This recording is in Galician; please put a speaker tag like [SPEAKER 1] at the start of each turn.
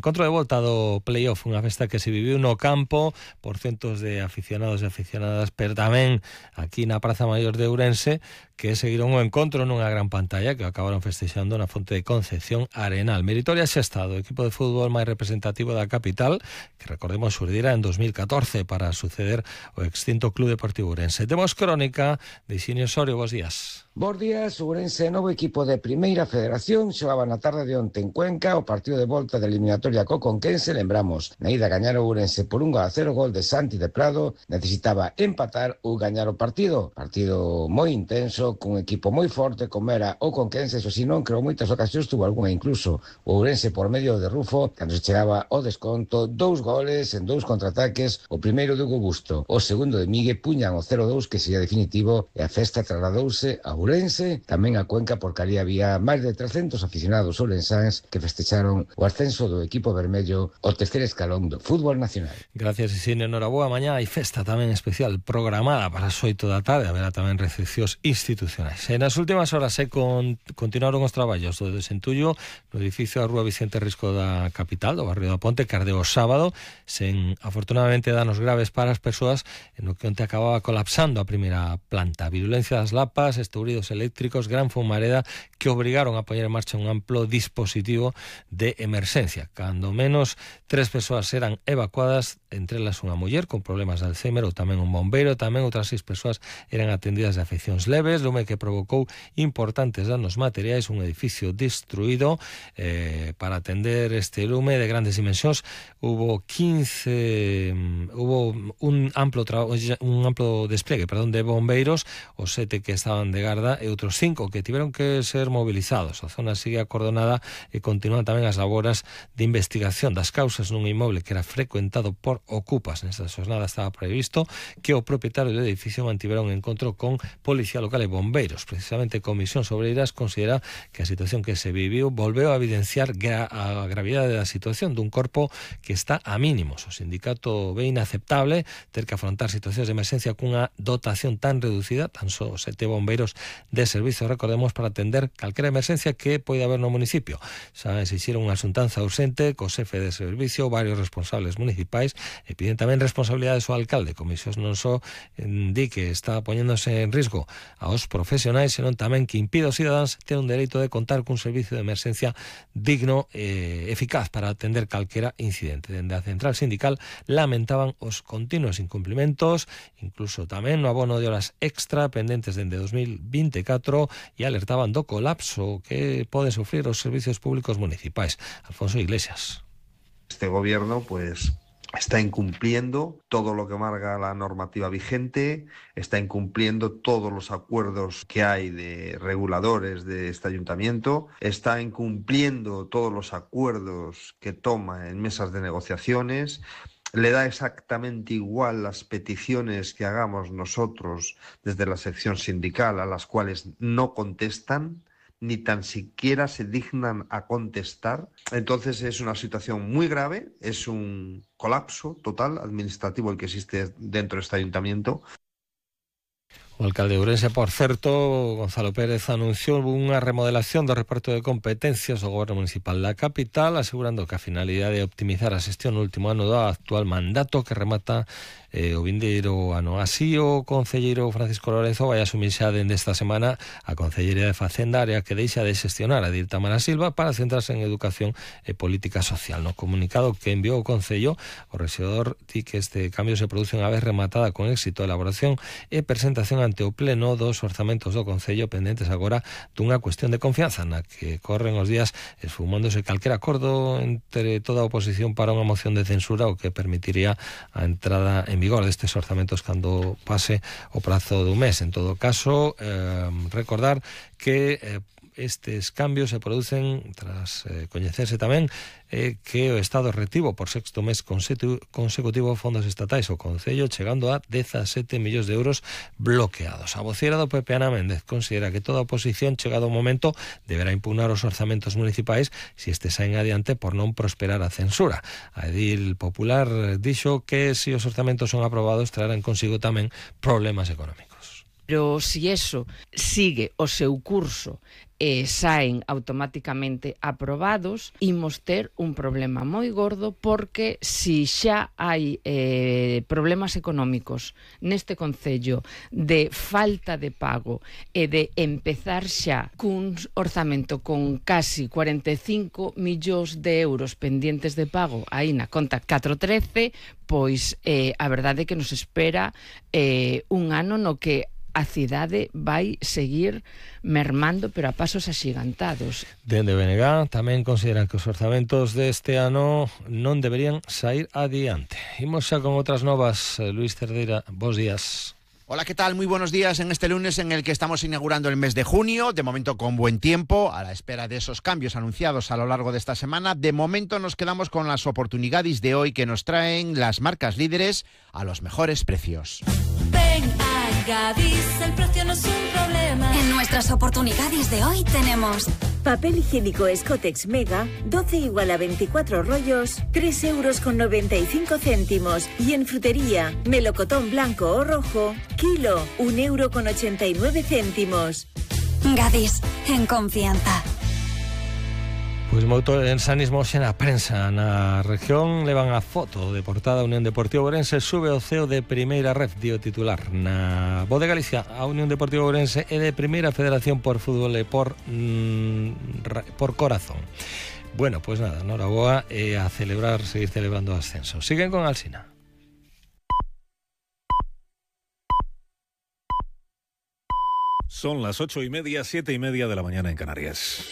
[SPEAKER 1] encontro de volta do playoff, unha festa que se viviu no campo por centos de aficionados e aficionadas, pero tamén aquí na Praza Maior de Ourense, que seguiron o encontro nunha gran pantalla que acabaron festexando na Fonte de Concepción Arenal. Meritoria Xesta, do equipo de fútbol máis representativo da capital, que recordemos xurdira en 2014 para suceder o extinto Club Deportivo Ourense. Temos crónica de Xinio Osorio, bos días.
[SPEAKER 2] Bos días, Ourense, novo equipo de Primeira Federación, xogaba na tarde de onte en Cuenca o partido de volta de eliminatoria co Conquense, lembramos, na ida gañar o Ourense por 1-0, gol de Santi de Prado, necesitaba empatar ou gañar o partido moi intenso, cun equipo moi forte como era o Conquense, eso si non, creo moitas ocasións tuvo algunha incluso o Ourense por medio de Rufo, cando se chegaba ao desconto, 2 goles en 2 contraataques, o primeiro de Hugo Busto, o segundo de Migue, puñan o 0-2 que sería definitivo e a festa trasladouse a Ourense, tamén a Cuenca, porque ali había máis de 300 aficionados ourensáns que festecharon o ascenso do equipo vermello ao terceiro escalón do fútbol nacional.
[SPEAKER 1] Gracias, Isinio. Noraboa. Mañá hai festa tamén especial programada para as 8 da tarde, haberá tamén recepcións institucionais. E nas últimas horas continuaron os traballos do desentullo no edificio da Rúa Vicente Risco da capital, do barrio da Ponte, que ardeu o sábado, sen afortunadamente danos graves para as persoas, en o que onte acababa colapsando a primeira planta. Virulencia das lapas, estouridos eléctricos, gran fumareda que obrigaron a poñer en marcha un amplo dispositivo de emerxencia. Cando menos 3 persoas eran evacuadas, entre elas unha muller con problemas de Alzheimer, ou tamén un bombeiro, tamén outras 6 persoas eran atendidas de afeccións leves, lume que provocou importantes danos materiais, un edificio destruído. Para atender este lume de grandes dimensións hubo un amplo despliegue, de bombeiros, os 7 que estaban de garda e outros 5 que tiveron que ser movilizados. A zona sigue acordonada e continúan tamén as laboras de investigación das causas nun inmoble que era frecuentado por ocupas. Nesta xornada estaba previsto que o propietario do edificio mantivera un encontro con Policía Local e bombeiros. Precisamente Comisións Obreiras considera que a situación que se viviu volveu a evidenciar a gravidade da situación dun corpo que está a mínimos. O sindicato ve inaceptable ter que afrontar situacións de emerxencia cunha dotación tan reducida, tan só 7 bombeiros de servizo, recordemos, para atender calquera emerxencia que poida haber no municipio. Xa exixiron unha xuntanza urxente co xefe de servicio, varios responsables municipais, e piden tamén responsabilidades ao alcalde. Comisións non só di que está poñéndose en risco aos profesionais, senón tamén que impide aos cidadáns ter un dereito de contar cun servicio de emerxencia digno e eficaz para atender calquera incidente. Dende a central sindical lamentaban os continuos incumplimentos, incluso tamén no abono de horas extra pendentes dende 2024, e alertaban do colapso que poden sufrir os servicios públicos municipais. Alfonso Iglesias.
[SPEAKER 3] Este gobierno, está incumpliendo todo lo que marca la normativa vigente, está incumpliendo todos los acuerdos que hay de reguladores de este ayuntamiento, está incumpliendo todos los acuerdos que toma en mesas de negociaciones, le da exactamente igual las peticiones que hagamos nosotros desde la sección sindical, a las cuales no contestan, ni tan siquiera se dignan a contestar. Entonces es una situación muy grave, es un colapso total administrativo el que existe dentro de este ayuntamiento.
[SPEAKER 1] O alcalde de Ourense, por certo, Gonzalo Pérez, anunciou unha remodelación do reparto de competencias do goberno municipal da capital, asegurando que a finalidade é optimizar a xestión no último ano do actual mandato que remata o vindeiro ano. Así, o concelleiro Francisco Lorenzo vai asumir xa dende esta semana a Concellería de Facenda, área que deixa de xestionar a Dir Tamara Silva para centrarse en educación e política social. No comunicado que enviou o Concello, o rexedor di que este cambio se produce unha vez rematada con éxito a elaboración e presentación ante o Pleno dos orzamentos do Concello, pendentes agora dunha cuestión de confianza na que corren os días esfumándose calquer acordo entre toda a oposición para unha moción de censura, o que permitiría a entrada en vigor destes orzamentos cando pase o prazo dun mes. En todo caso, recordar que estes cambios se producen tras coñecerse tamén que o Estado retivo por sexto mes consecutivo fondos estatais ao Concello, chegando a 17 millóns de euros bloqueados. A vocera do PP, Ana Méndez, considera que toda a oposición, chegado o momento, deberá impugnar os orzamentos municipais se estes saen adiante por non prosperar a censura. A edil popular dixo que se os orzamentos son aprobados traerán consigo tamén problemas económicos.
[SPEAKER 4] Pero se eso sigue o seu curso saen automáticamente aprobados, imos ter un problema moi gordo, porque si xa hai problemas económicos neste concello de falta de pago e de empezar xa cun orzamento con casi 45 millóns de euros pendientes de pago aí na conta 413, pois a verdade é que nos espera un ano no que a cidade vai seguir mermando, pero a pasos axigantados.
[SPEAKER 1] Dende BNG tamén consideran que os orzamentos deste ano non deberían sair adiante. Imos xa con outras novas. Luis Cerdeira, bos días.
[SPEAKER 5] Hola, ¿qué tal? Muy buenos días en este lunes en el que estamos inaugurando el mes de junio, de momento con buen tiempo, a la espera de esos cambios anunciados a lo largo de esta semana. De momento nos quedamos con las oportunidades de hoy que nos traen las marcas líderes a los mejores precios.
[SPEAKER 6] Ven a Gadis, el precio no es un problema.
[SPEAKER 7] En nuestras oportunidades de hoy tenemos
[SPEAKER 8] papel higiénico Escotex Mega, 12 igual a 24 rollos, 3,95 €. Y en frutería, melocotón blanco o rojo, kilo, 1,89 €.
[SPEAKER 7] Gadis, en confianza.
[SPEAKER 1] Pois moito ensanismo xe na prensa na región. Levan a foto de portada. A Unión Deportiva Ourense sube ao ceo de primeira ref, dio titular. Na Voz de Galicia, a Unión Deportiva Ourense é de primeira federación por fútbol e por corazón. Bueno, pois nada, noraboa e a celebrar, seguir celebrando o ascenso. Siguen con Alsina.
[SPEAKER 9] Son las 8:30, 7:30 de la mañana en Canarias.